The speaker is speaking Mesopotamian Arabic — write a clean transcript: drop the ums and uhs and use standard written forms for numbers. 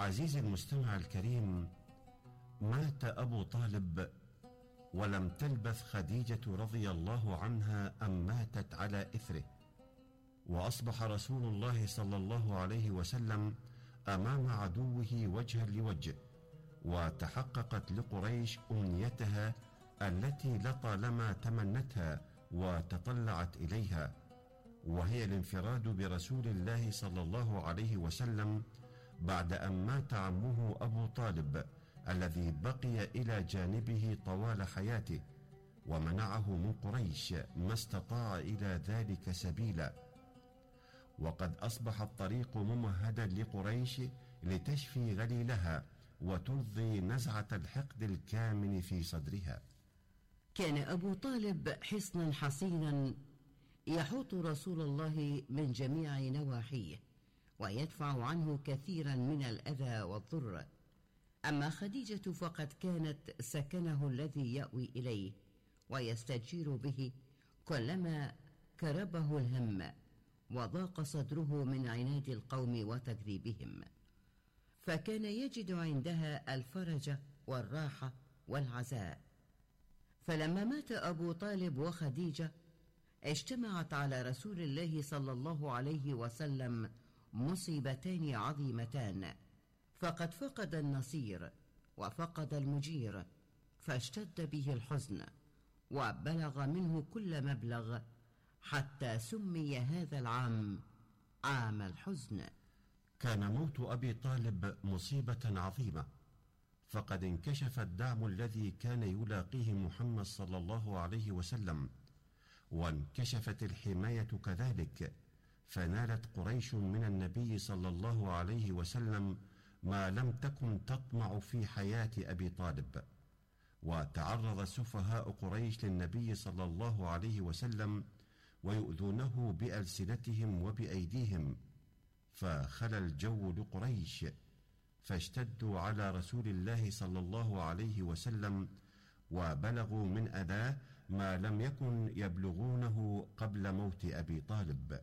عزيزي المستمع الكريم، مات أبو طالب ولم تلبث خديجة رضي الله عنها أن ماتت على إثره، وأصبح رسول الله صلى الله عليه وسلم أمام عدوه وجها لوجه، وتحققت لقريش أمنيتها التي لطالما تمنتها وتطلعت إليها، وهي الانفراد برسول الله صلى الله عليه وسلم بعد أن مات عمه أبو طالب الذي بقي إلى جانبه طوال حياته، ومنعه من قريش ما استطاع إلى ذلك سبيلا. وقد أصبح الطريق ممهدا لقريش لتشفي غليلها وترضي نزعة الحقد الكامن في صدرها. كان أبو طالب حصنا حصينا يحوط رسول الله من جميع نواحيه ويدفع عنه كثيرا من الأذى والضر. أما خديجة فقد كانت سكنه الذي يأوي إليه ويستجير به كلما كربه الهم وضاق صدره من عناد القوم وتكذيبهم، فكان يجد عندها الفرج والراحة والعزاء. فلما مات أبو طالب وخديجة اجتمعت على رسول الله صلى الله عليه وسلم مصيبتان عظيمتان، فقد فقد النصير وفقد المجير، فاشتد به الحزن وبلغ منه كل مبلغ، حتى سمي هذا العام عام الحزن. كان موت أبي طالب مصيبة عظيمة، فقد انكشف الدعم الذي كان يلاقيه محمد صلى الله عليه وسلم، وانكشفت الحماية كذلك، فنالت قريش من النبي صلى الله عليه وسلم ما لم تكن تطمع في حياة أبي طالب. وتعرض سفهاء قريش للنبي صلى الله عليه وسلم ويؤذونه بألسنتهم وبأيديهم، فخلى الجو لقريش، فاشتدوا على رسول الله صلى الله عليه وسلم وبلغوا من أذاه ما لم يكن يبلغونه قبل موت أبي طالب.